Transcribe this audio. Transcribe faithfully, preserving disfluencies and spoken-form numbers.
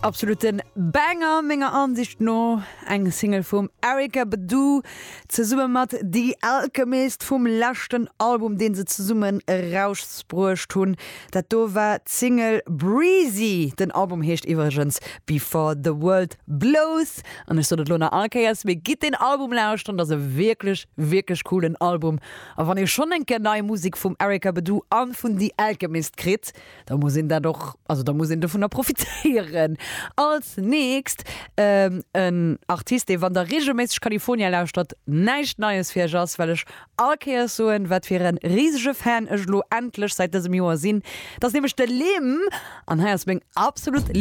Absoluten Banger menger Ansicht no eng Single vum Erykah Badu zesumme mat The Alchemist vum leschten Album deen se zesummen erausbruecht hunn. Dat do war d'Single Breezy. Den Album heescht iwwregens Before the World Blows an ech sot et lo nach all Kéiers mee gitt den Album lauschteren, dat ass e wierklech wierklech coolen Album. A wann ee schonn eng Kéier nei Musek vum Erykah Badu an vun The Alchemist kritt, da muss een dat och also da muss een dovunner profitéieren. Als nächst ähm, en Artist, dee wann der regelméisseg California lauschtert, näischt Neies fir iech ass, well ech all Kéiers soen, wat fir e risege Fan ech lo endlech säit dësem Joer sinn. Dat ass nämlech de Lim an hei ass meng absolut